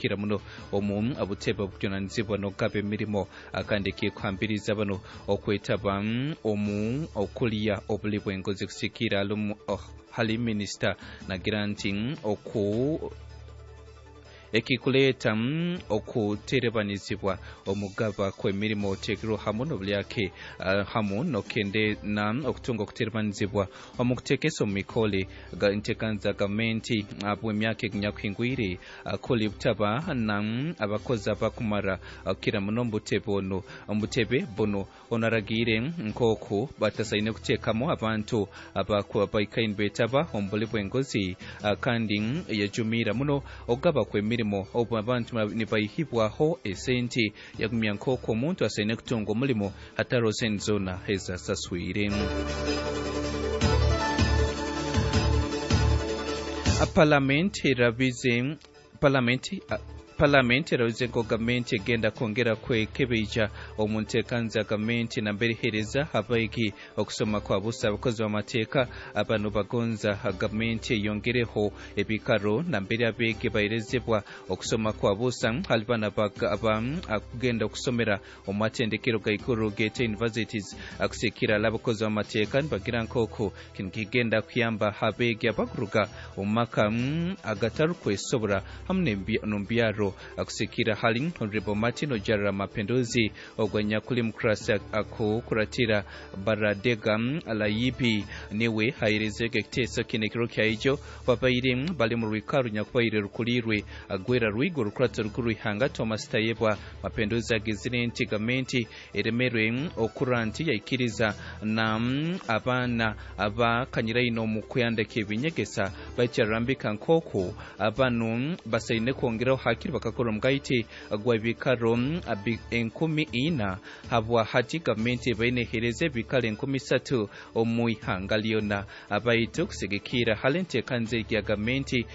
kukira muno omu butebe obukujunanizibwa n'okugaba emirimo kandi ekikuhambiriza bano okwetaba omu okulya obuli bw'enguzi kusikiira hali minisita nagira nti oku ekikuleeta okuterebanizibwa omugaba kw'emirimo oteekirwe hamu n'obulyake hamu n'okende na okutunga okuterebanizibwa omu kuteekesa omu mikole enteekaniza gavumenti bw'emyaka eginyakuhingwire kuli butaba na abakozi abakumara kukira muno omu butebe onu omu butebe bunu. Onu aragiire nk'oku batasaine kuteekamu abantu abaikaire nibeetaba omu buli bw'enguzi kandi yajumiira muno okugaba kw'emirimo obu abantu nibaihibwaho esente. Yagumya nk'oku omuntu asaine kutunga omulimo hatariho sente zoona ezi asaswire. Palamenti erabize Palamenti Palamenti erabize ngu gavumenti egenda kwongera kwekebeija omu nteekaniza ya gavumenti nambere eheereza abaigi okusoma kwa busa. Abakozi b'amateeka banu bagonza gavumenti eyongereho ebikaro nambere abeegi baherezebwa okusoma kwa busa hali banu abakugenda okusomera omu matendekero gaiguru geete universities. Kusiikira hali abakozi b'amateeka nibagira nk'oku Kinu kigenda kuyamba abeegi abakuruga omu maka agatarukwesobora hamu n'omu byaro. Kusigikirra hali Honorable Martin Ojarra Mapenduzi ogu anyakuli mukurasi akukuratira Baradega Layibi niwe aherezeege ekiteeso kinu ekiro kya ijo babaire bali mu rwikaro runyakubaire rukuliirwe Gwera Rwigo Orukurato Rukuru rw'ihanga Thomas Tayebwa. Mapenduzi agizire nti gavumenti Eremerwe okura nti yaikiriza na abaana abakanyiraine omu kuyandeka ebinyegesa, baitu yarambika nk'oku banu basaine kwongeraho hakiri bakakora omugaiti gw'ebikaro 4,000 habwa hati gavumenti ebaire neheereza ebikaro 3,000 omu ihanga lyona. Baitu kusigikirra hali enteekaniza egi ya gavumenti,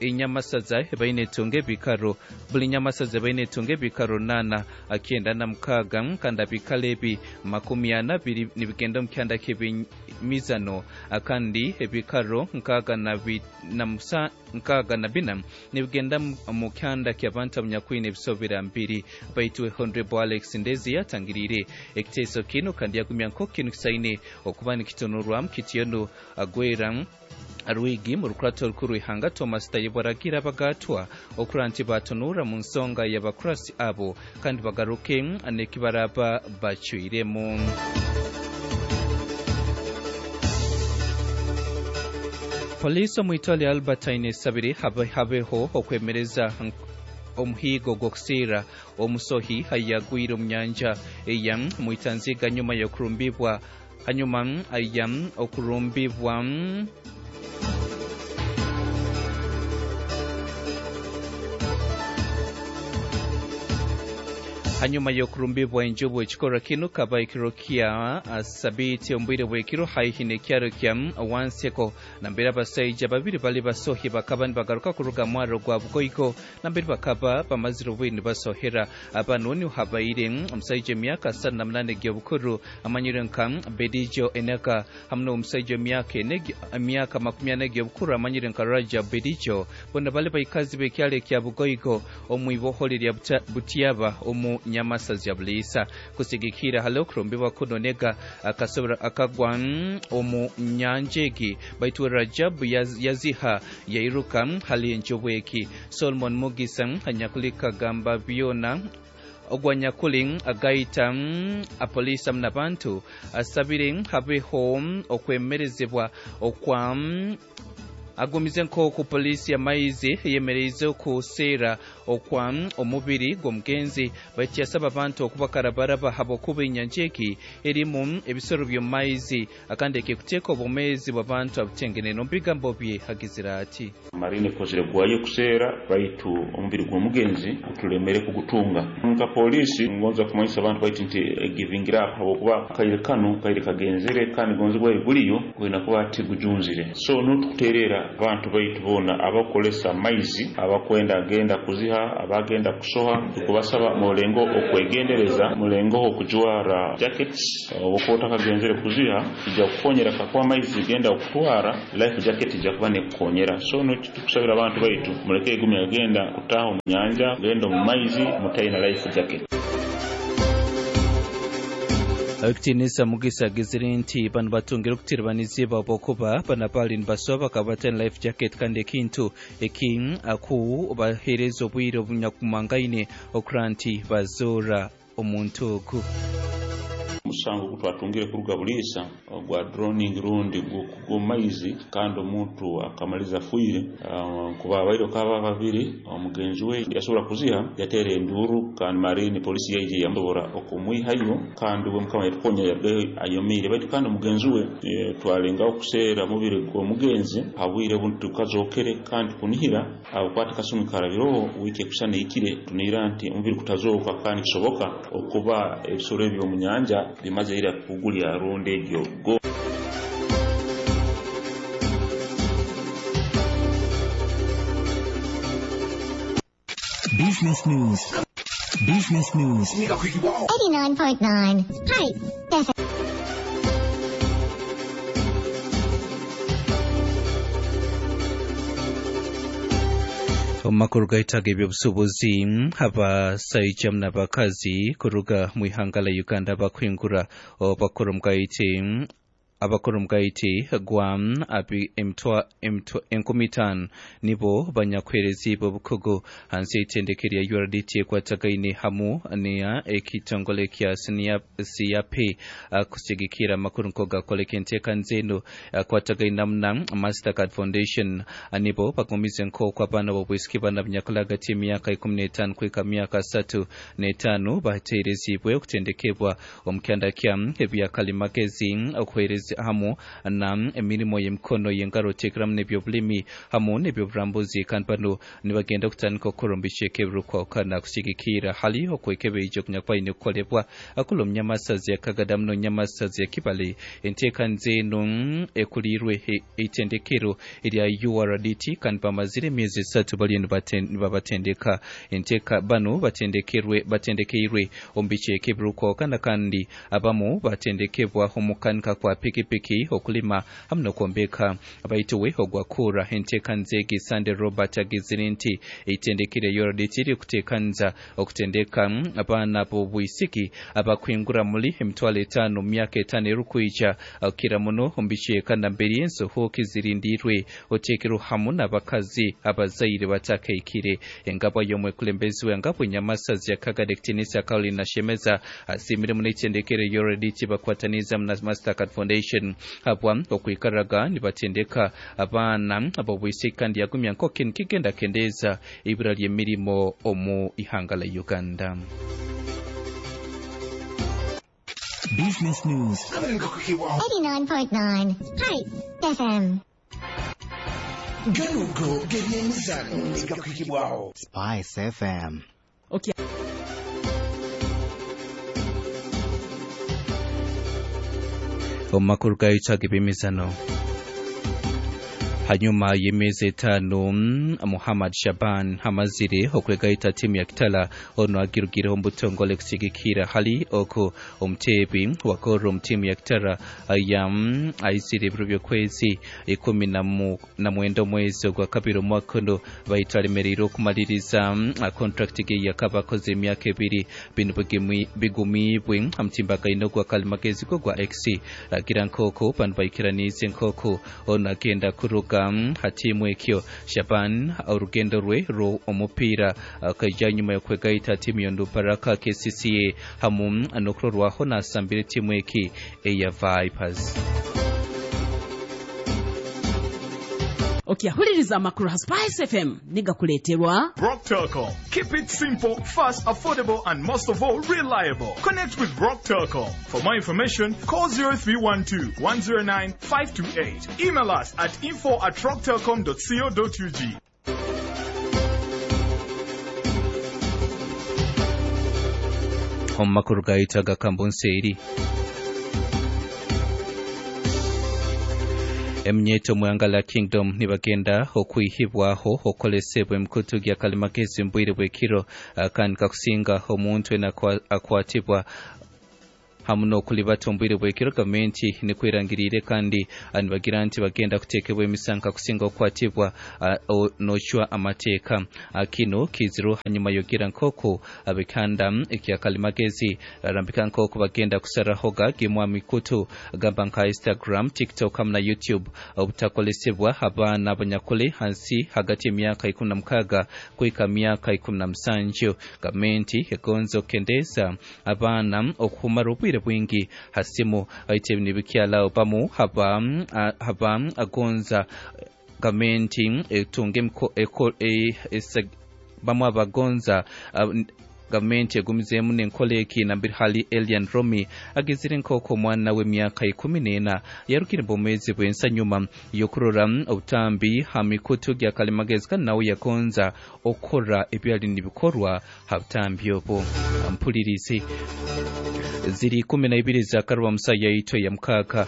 Enyamasaza ebaire netunga ebikaro Buli nyamasaza ebaire netunga ebikaro runaana 96 kandi abikaro ebi 40 biri nibigenda omu kyanda ky'ebyemizano kandi ebikaro 64 nibigenda omu kyanda ky'abantu abanyakwine ebisobera mbiri. Baitu Honrebo Alex Ndezi yatangiriire ekiteeso kinu kandi yagumya nk'oku kinu kisaine okuba nikitunurwamu kityo nu Gwera Rwigi mu rukurato rukuru rw'ihanga Thomas Tayebwa aragiire abagaatwa okurora nti baatunuura mu nsonga y'abakurasi abo kandi bagaruke n'eki baraaba bacwiremu. Poliisi omu itwale lya Albertine esabire habeho okwemereza omuhiigo gw'okusiira omusohi ayagwire omu nyanja eya Mwitanziga nyuma y'okurumbibwa Hanyuma aija okurumbibwa. Hanyuma y'okurumbibwa enjubu, ekikorwa kinu kaba ekiro kya Sabiiti omu bwire bw'ekiro haihi n'ekyaro kya Wanseko nambere abasaija babiri bali basohi bakaba nibagaruka kuruga mwaro gwa Bugoigo Nambere bakaba bamazire obwire nibasohera banu niho habaire omusaija w'emyaka 38 egy'obukuru amanyirwe nka Bedijo Eneka hamu n'omusaija w'emyaka emyaka 40 egy'obukuru amanyirwe nka Rajab Bedijo. Bona bali baikazi b'ekyaro ekya Bugoigo omu iboholi lya Butiaba omu Nyamasazi ya Buliisa. Kusigikirra hali okurumbibwa kunu Nega akasobora akagwa omu nyanja egi baitu Rajab yaziha yairuka hali enjubu egi. Solomon Mugisa anyakuli kagamba byona ogu anyakuli agaita apoliisi hamu n'abantu asabire habeho okwemerezebwa okwa agumize nk'oku poliisi y'amaizi eyemereize okuseera okwa omubiri gw'omugenzi baitu yasaba abantu okuba karabaraba habwokuba enyanja egi erimu ebisoro by'omu maizi Akandi ekikuteeka obwomeezi bw'abantu abutengenene. Omu bigambo bye agizire ati. Marine ekozire gwayo kuseera baitu omubiri gw'omugenzi gutulemere kugutunga. Nka poliisi ngonza kumanyisa abantu baitu nti giving up habwokuba akaire kanu kaire kagenzere kandi gonze gwali guliyo gwine kuba tigujunzire so nuho tukuterera. Abantu baitu boona abakukolesa amaizi, abakwenda genda kuziha, abagenda kusoha, tukubasaba mulengo okwegendereza, mulengoho okujwara jackets obukuba otakagenzere kuziha, ija kukukonyera kakuba amaizi genda kukutwara, life jacket ija kuba nekukonyera. So tukusabira abantu baitu muleke igumya genda kutaha omu nyanja, genda omu maizi mutaina life jacket. Ekitiinisa Mugisa agizire nti bano batungire okutiribanizibwa habwokuba bano abaali nibasoha bakaba bataine life jacket kandi ekintu eki aku baheereza obwire obunyakumangaine okura nti bazoora omuntu ogu. Omusango ogu twatungire kuruga Buliisa ogwa droning rundi gw'omaizi kandi omuntu akamaliza afiire, kuba abaire okaba babiri, omugenzi we yasobora kuziha yateera enduuru kandi marine polisi yaija yamusobora okumwihayo kandi we mukama yatukonya yarugayo ayomeire. Baitu kandi omugenzi we twalengaho kuseera omubiri gw'omugenzi habwire obu tukazokere kandi kunihira abukwata kasumi karabiroho wiiki ekusana ehikire tunihira nti omubiri kutazooka kandi kisoboka okuba ebisoro ebyo omu nyanja bimaze ira kugulya rundi egyo go. Business News. Business News. 89.9 Spice FM. Omu makuru gaitaga ebyobusuubuzi, abasaija n'abakazi kuruga mu ihanga la Uganda bakwingura bakora omugaiti abakora omugaiti gwa 5,000 nibo banyakwerezibwe obukugu hansi y'eitendeke lya URDT ekwatagaine hamu neya ekitongole kya CAP kusigikira amakuru nkogakoleka enteekaniza eno akwatagaine hamu na Mastercard Foundation nibo bagumize nk'oku abaana b'obwisiki bana bunyakula hagati y'emyaka 15 kuhika myaka 35 bateerezibwe okutendekebwa omu kyanda kya ebyakalimagezi okuheereza hamu na emirimo y'emikono y'engaro oteekeramu n'ebyobulimi hamu n'ebyoburambuzi kandi bano nibagenda kutandika okukora omu bicweka ebirikwahukana kusigikira hali okwekebeija okunyakuba aine kukolebwa akula omu nyamasazi ya Kagadamu n'omunyamasazi ya Kibale. Enteekaniza eno ekuliirwe eitendekero erya URDT kandi bamazire emyezi 3 bariyo nibabatendeka. Enteeka bano batendekeirwe omu bicweka ebirikwahukana kandi abamu batendekebwa omukanika kwa pikipiki, okulima hamu n'okwombeka. Baitu we ogwakura enteekaniza egi Sande Robert agizire nti eitendekero erya URDT ririkuteekaniza okutendeka abaana b'obwisiki abakwingura muri 5,000 mu myaka 5 erikwija kukira muno omu bicweka nambere ensohoke zirindiirwe oteekerwe hamu n'abakazi abazaire batakaikire. Engabwa y'omwekulembezi w'engabwa enyamasazi ya Kagadi Ekitiinisa Caroline Nashemeza asiimire muno eitendekero erya URDT bakwataniza na Mastercard Foundation habwa okwikaraga nibatendeka abaana ab'obwisiki kandi yagumya nk'oku nikigenda kendeeza ibura ly'emirimo omu ihanga la Uganda. Business News. 89.9 Spice FM. Ganugo gebyemizano negakwikibwaho. Spice FM. Okay. Omu makuru gaitaga ebyemizano, hanyuma y'emyezi 5 Muhammad Shaban amazire okwegaita timu ya Kitala ono agirugireho omu butongole kusigikira hali oku omuteebi wa goro omu timu ya Kitara ya aizire ebiro by'okwezi 19 omwezi ogwa kabiri omwaka ono baitu alemereire okumaliriza contract ge yakaba akoze emyaka 2. Bino bigumiibwe omutimbagaine ogwa kalimagezi go gwa X agira nk'oku bano baikiraniize nk'oku ono agenda kuruga hatimu ekyo. Shaban orugendo rwe rwo omupiira akaija nyuma y'okwegaita timu y'Onduparaka KCCA hamu n'okurorwaho nasambire timu eki eya Vipers. Okyahuliriza amakuru ha Spice FM nigakuleeterwa Rock Telcom. Keep it simple, fast, affordable, and most of all, reliable. Connect with Rock Telcom. For more information, call 0312 109 528. Email us at info@rocktelcom.co.ug. Omu makuru gaitaga kambunseeri. Eminyeeto omu ihanga lya Kingdom nibagenda okwihibwaho okukoresebwa emikutu gya kalimagezi omu bwire bw'ekiro kandi kakusinga omuntu weena akwatibwa hamu n'okulibata omu bwire bw'ekiro. Gavumenti nikwo erangiriire kandi nibagira nti bagenda kuteekebwa emisango kakusinga okukwatibwa n'ocwa amateeka. Kinu kiizirwe hanyuma y'okugira nk'oku ab'ekihanda ekya kalimagezi Arambika nk'oku bagenda kusarahoga gimwe aha mikutu gamba nka Instagram, TikTok hamu na YouTube obutakolesebwa abaana abanyakuli hansi hagati y'emyaka 16 kuhika myaka 17. Gavumenti egonza okukendeeza abaana okumara obwire bwingi ha simu baitu ebi nibikyalao bamu haba haba agonza gavumenti etunge bamu abagonza gavumenti egumizeemu n'enkora egi nambere hali Elian Romi agizire nk'oku omwana w'emyaka 14 yarugire bwomeezi bw'ensi anyuma y'okurora obutambi ha mikutu gya kalimagezi kandi nawe yagonza okukora ebyali nibikorwa ha butambi obu. Mpulirizi ziri 12 za karuba musa yaitu ya mukaaga.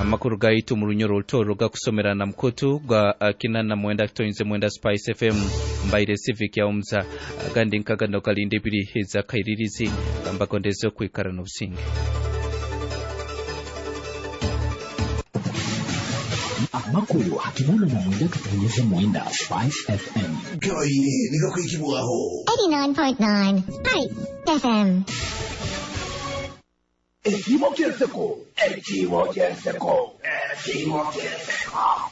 Amakuru gaitu mu Runyoro Rutoro gakusomera na mukutu gwa 89.9 Spice FM mbaire Civic ya Omza agandi nkagano galinda ebiri ezakairirizi gambagondeze okwikara n'obusinge. Amakuru 89.9 Spice FM. Gabaire nigakwikibwaho. 89.9 Spice FM. Ekiimo ky'enseko. Ekiimo ky'enseko. Ekiimo ky'enseko.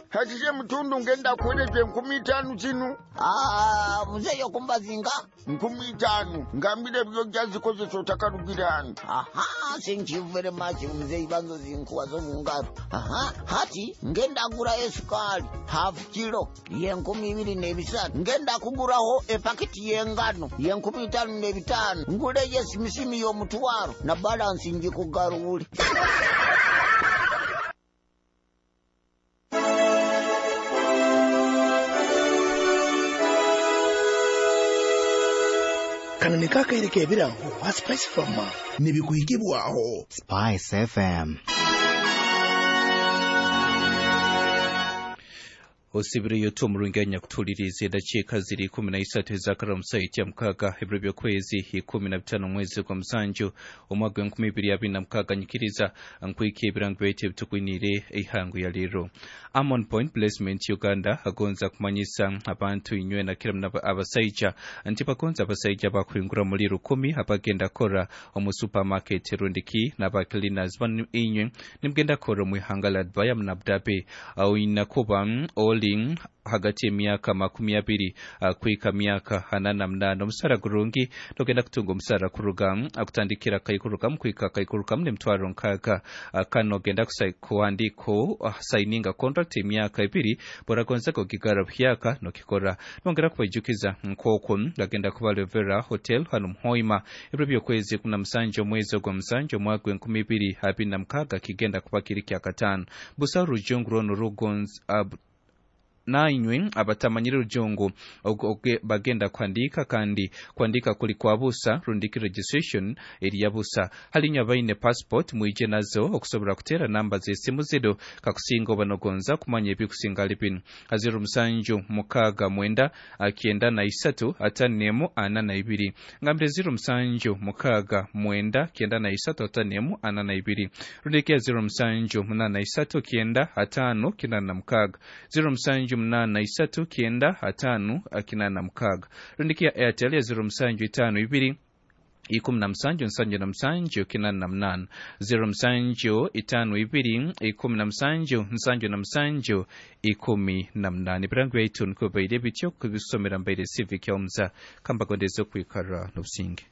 Hakije mutundu ngenda kuwereje 5000 zinu. Ah, muzeeyi okumbazinga 5000 ngambire byojja zikozesa otakalugirani. Aha, thank you very much muzeeyi banzo zinkuwa zo mungaro. Aha, hati ngenda gurayo esukali half kilo ye 2300, ngenda kuguraho epakiti y'engano ye 5500, nguleyo esimisimi y'omutwaro na balansi njikugarule. Kano ni kakaire k'ebirango ha Spice Farmer nibikuhikibwaho. Spice FM. Osibireyo tu omurungi anyakutuliriza edakiika ziri 13 ezakara omusaiti ya mukaaga ebiro by'okwezi 15 omwezi gwa musanju omwaka gw'enkumi ibiri abiri na mukaaga. Nyikiriza nkwika ebirango byaitu ebitukwiniire eihango ya leero. Amon Point Placement Uganda agonza kumanyisa abantu inywe na kira muna abasaija nti bagonza abasaija bakuhingura muri 10 abagenda kora omu supermarket rundiki n'aba cleaners banu inywe nimugenda kora omu ihanga la Dubai na Abu Dhabi. Oyina kuba oli hagati y'emyaka 20 kuhika myaka 48. Omusara gurungi togenda kutunga omusara kuruga akutandikira kaikurukamu kuhika kaikurukamu n'emitwaro nkaaga. Kano ogenda kuhandiko saininga contract emyaka 2 boragonza kugigara buhyaka nokikora. Nongera kubaijukiza nk'oku gagenda kuba Revera Hotel hano Muhoima ebiro by'okwezi 17 omwezi ogwa musanju omwaka gw'enkumi ibiri abiri na mukaaga kigenda kuba kiri kya kataano. Busa rujungu rono rugonza nainywe abatamanyire rujungu bagenda kuhandika kandi kuhandika kuli kwa busa rundiki registration eri ya busa. Halinywe abaine passport mwije nazo okusobola kuteera namba z'esimu zino kakusinga oba nogonza kumanya ebikusinga ali bino. 07 69 93 51 42 ngambire 07 69 93 51 42 rundiki ya 07 83 9 5 96 07 83 9 5 86 rundiki ya Airtel ya 0752 17 77 88 07 52 17 77 18. Ebirango byaitu nikwo bibaire bityo kubisomera mbaire Civic ya Omza kambagondeze okwikara n'obusinge.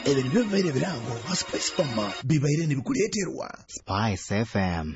Ebyo nibyo bibaire ebirango ha Spice Farmer bibaire nibikuleeterwa Spice FM.